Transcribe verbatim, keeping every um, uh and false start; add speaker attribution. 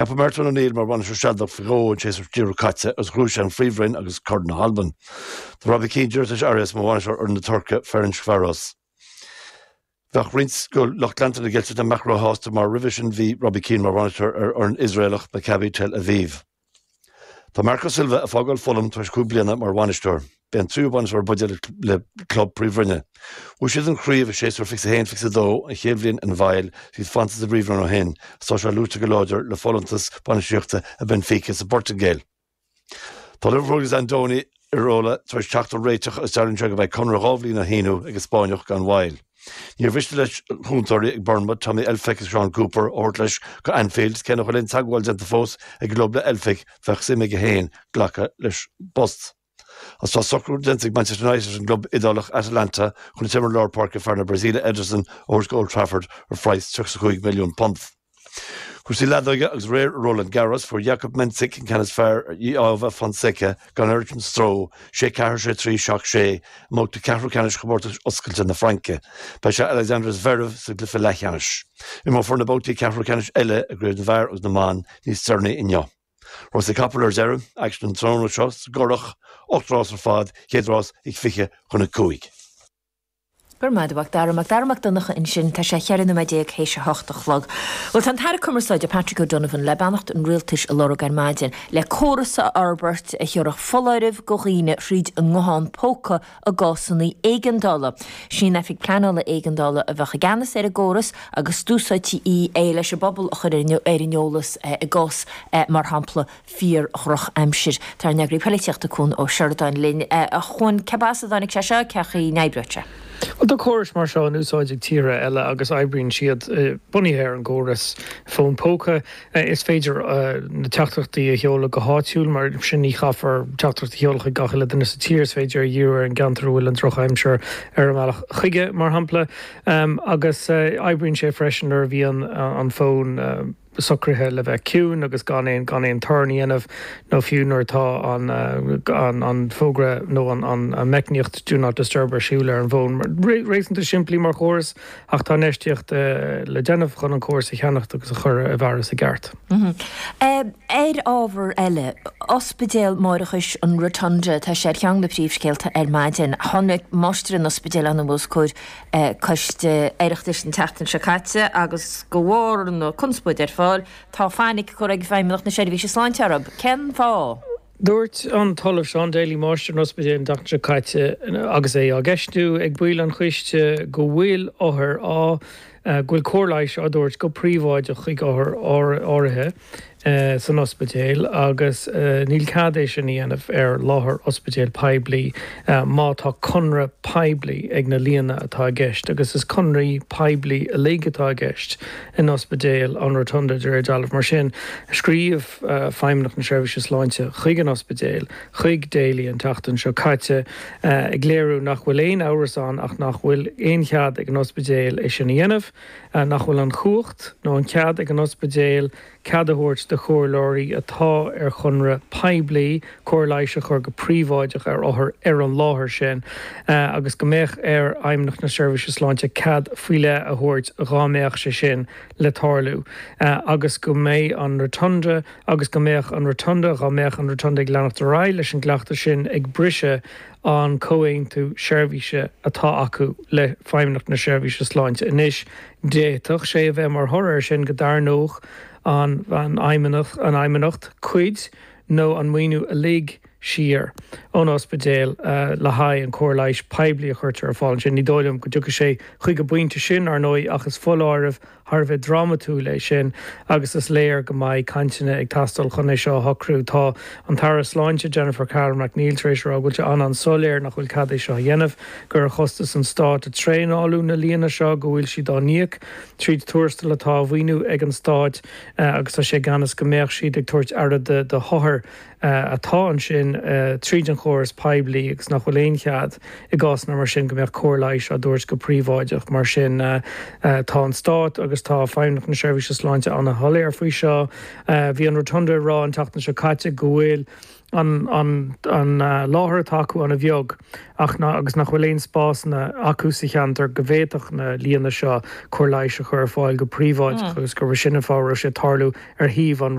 Speaker 1: Ceapadh Martin O'Neill mar bhainisteoir sealadach faoi dhó an séasúr díreach caite agus ghnóthaigh sé an Phríomhroinn agus Corn na hAlban. Tá Robbie Keane leis Arias mar bhainisteoir ar na Tuirce Ferencváros. Bheadh roinnt de lucht leanta na gCeilteach nach mbeadh róshásta mar roimhe sin bhí Robbie Keane mar bhainisteoir ar an Iosraelach Maccabi Tel Aviv. Tá Marco Silva ag fágáil Fulham tar éis cúig bliana mar bhainisteoir. B'é an tríú bainisteoir buide le club príomhroinne. Bhuaigh siad an chraobh i séasúr fiche haon fiche dó an chéad bhliain ina bhfeighil siad fanta sa bpríomhroinn ó shin, tá sé luaite go láidir le folúntas bainistíochta i Benfica sa bPortaingéil. Tá Liverpool agus Andoni Iraola tar éis teacht ar réiteach agus deirtear go mbeidh conradh dhá bhliain á shíniú ag an Spáinneach gan mhoill. Níor mhiste leis chúntóirí ag Bournemouth Tommy Elphick agus Sean Cooper a thabhairt leis go Anfield, cé nach bhfuil aon teagmháil déanta fós ag club le Elphick bheadh suim aige féin glacadh leis an bpost. Agus tá socrú déanta ag Manchester United an club Iodálach Atalanta chun t-imreoir lár páirce fear na Brasaíle Ederson a thabhairt go Old Trafford ar phraghas tríocha cúig milliún punt. Cúrsaí leadóige agus aréir Roland Garros fuair Jakub Mensik an ceann is fearr ar João Fonseca gan oiread sin stró sé ceathair sé trí seacht sé i mbabhta ceathrú ceannais chomórtas oscailte na Fraince. Beidh sé Alexander Zverev sa gcluiche leathcheannais. Imreofar na babhtaí ceathrú ceannais eile i gcraobh na bhfear agus na mban níos deireanaí inniu. Rásaí capall ar deireadh, aicsean an tráthnóna seo sa gCurrach, ocht rás ar fad, chéad rás ag fiche chun a cúig.
Speaker 2: Gur maith Dara Mac Dara Mac Donncha ansin tá sé cheithre nóiméad déag théis a hocht a chlog. Well tá an tAire Cumarsáide Patrick O'Donovan le beannacht an rialtais a lorg ar maidin, le córas a fhorbairt a thabharfadh foláireamh do dhaoine thríd an nguthán póca i gcásanna éigeandála. Sí an Oifig Pleanála Éigeandála a bheadh i gceannas ar an gcóras agus d'úsáidtí í é leis an bpobal a chur ar an eolas i gcás mar shampla fíor-dhrochaimsir. Tá ár n-eagraí polaitíochta Cuan Ó Seireadáin linn a Chuain cé as a dtáinig sé seo cén chaoi a n-oibreoidh sé.
Speaker 3: Well tá córais mar seo in úsáid ag tíortha eile agus oibríonn siad bunaithe ar an gcóras fón póca is féidir na teachtaireachtaí a sheoladh go háitiúil mar sin ní chaithfear teachtaireacht a sheoladh chuig gach uile duine sa tír is féidir a dhíriú ar an gceantar a bhfuil an drochaimsir ar an mbealach chuige mar shampla agus oibríonn sé freisin nuair a bhíonn an fón socraithe le bheith ciúin agus gan aon gan aon torann a dhéanamh nó fiú nuair atá an an an fógra nó an an meicníocht do not disturb ar siúl ar an bhfón. Réasúnta simplí mar chóras ach tá infheistíocht le déanamh chun an córas a cheannacht agus a chur i bhfearas i gceart.
Speaker 2: Ar ábhar eile, Ospidéal Máithreachais an Rotunda tá sé ar cheann de na príomhscéalta ar maidin. Tháinig máistir an ospidéil ann os comhair coiste Oireachtais an tseachtain seo caite agus go bharr na conspóide ar fáil tá fainic curtha ag Feidhmeannacht na Seirbhíse Sláinte orthu. Cén fáth?
Speaker 3: Dúirt an tOllamh Sean Daly máistir an ospidéil an tseachtain seo caite agus é á gceistiú ag baill an choiste go bhfuil othair á go bhfuil cóir leighis á dtabhairt go príobháideach chuig othair áirithe san ospidéal agus níl cead é sin a dhéanamh ar láthair ospidéal poiblí má tá conradh poiblí ag na lianna atá i gceist agus is conraí poiblí uilig atá i gceist in ospidéal an Rotunda de réir dealraimh mar sin scríobh Feidhmeannacht na Seirbhíse Sláinte chuig an ospidéal chuig Daly an tseachtain seo caite ag léiriú nach bhfuil aon amhras ann ach nach bhfuil aon chead ag an ospidéal é sin a dhéanamh nach bhfuil an chumhacht nó an cead ag an ospidéal cead a thabhairt do chomhairleoirí atá ar chonradh poiblí cóir leighis a chur go príobháideach ar othair ar an láthair sin agus go mbeadh ar Fheidhmeannacht na Seirbhíse Sláinte cead faoi leith a thabhairt dá mbeadh sé sin le tarlú agus go mbeidh an Rotunda agus go mbeadh an Rotunda dá mbeadh an Rotunda ag leanacht ar aghaidh leis an gcleachtadh sin ag briseadh an comhaontú seirbhíse atá acu le Feidhmeannacht na Seirbhíse Sláinte anois d'fhéadfadh sé a bheith mar thoradh air sin go dtarraingeodh an an fheidhmeannach an fheidhmeannacht cuid nó an maoiniú uilig siar ón ospidéal le haghaidh an cóir leighis poiblí a chuirtear ar fáil ansin ní dóigh liom go dtiocfaidh sé chuig an bpointe sin ar ndóigh ach is foláireamh thar a bheith drámatúil é sin agus is léir go mbeidh cainteanna ag teastáil chun é seo a shocrú. Tá an tAire Sláinte Jennifer Carroll MacNeill tar éis rá go bhfuil sé an-an-soiléir nach bhfuil cead é seo a dhéanamh, gur ar chostas an stáit a traenáladh na lianna seo go bhfuil siad á n-íoc tríd tuarastal atá á mhaoiniú ag an stáit agus tá sé i gceannas go mbeadh siad ag tabhairt aire do d'othair atá ansin tríd an chóras poiblí agus nach bhfuil aon chead i gcásanna mar sin go mbeadh cóir leighis á dtabhairt go príobháideach mar sin tá an stát agus agus tá Feidhmeannacht na Seirbhíse Sláinte an-shoiléir faoi seo. Bhí an Rotunda ag rá an tseachtain seo caite go bhfuil an an an láthair atá acu an-bheag ach ná agus nach bhfuil aon spásanna acu sa cheantar go bhféadfadh na lianna seo cóir leighis a chur ar fáil go príobháideach agus gurb sin an fáth a raibh sé ag tarlú ar shuíomh an